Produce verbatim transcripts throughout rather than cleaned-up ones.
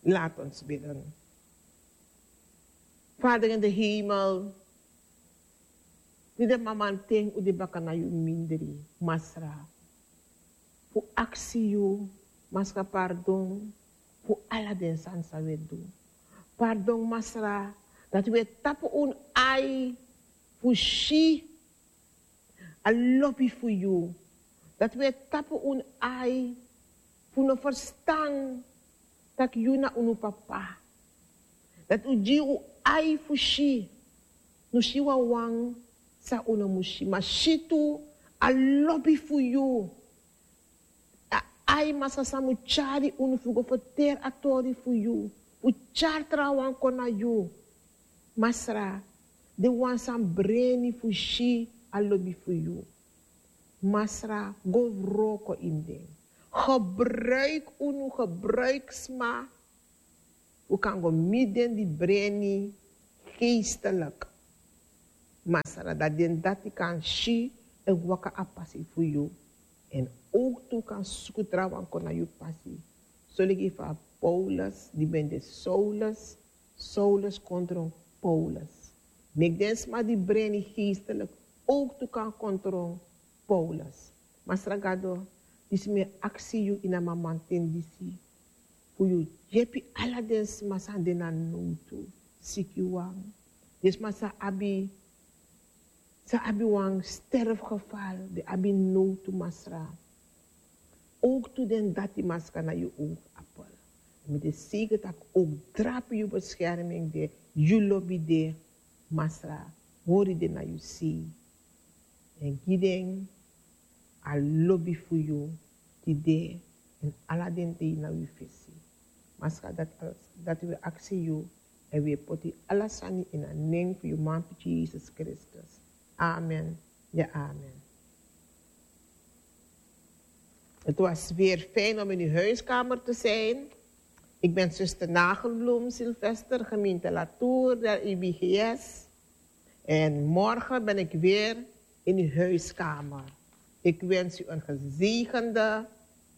Laat ons bidden. Vader in de hemel, di de mamanten un de baka na yu mindri, Masra. Fu aksi yu, Masra, pardon fu ala den sani san wi e du. Pardon, Masra, dati wi e tapu un ai fu si a lobi fu yu. Dati wi e tapu un ai fu no ferstan taki yu na unu papa. Dati un gi un ai fu si, no si wawan san un no mus si, ma si tu a lobi fu yu. A ai, Masra, san mus tyari unu fu go ferteri a tori fu yu, fu tyari trawan kon na yu. Masra, den wan san breni fu si a lobi fu yu. Masra, go wroko ini den. Gebruik unu, gebruik sma fu kan go miti den di breni geestelik. Masra, dati den dati kan si èn waka a pasi fu yu. Èn owktu kan suku trawan kon na yu pasi. Soligi fa Paulus, di ben de Saulus, Saulus kon tron Paulus. Meki den sma di breni geestelik owktu kan kon tron Paulus. Masra Gado, disi mi e aksi yu ini a mamanten disi, fu yu yepi ala den sma san de na nowtu, sikiwan, den sma san abi, san abi wan sterfgeval, den abi nowtu, Masra. Owktu den dati, Masra, na yu owkapel. Mi de seiker tak' owktu drape yu beskerming de, yu lobi de, Masra, hori den na yu sei. Èn gi den a lobi fu yu tide èn ala den dei na wi fesi. Masra, dati, dati wi e aksi yu èn wi e poti ala sani ini a nen fu yu manpikin Jesus Kristus. Amen. Ya, amen. Het was weer fijn om in uw huiskamer te zijn. Ik ben zuster Nagelbloem Sylvester, gemeente Latour der I B G S. En morgen ben ik weer in uw huiskamer. Ik wens u een gezegende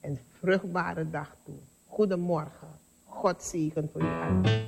en vruchtbare dag toe. Goedemorgen. God zegen voor u allen.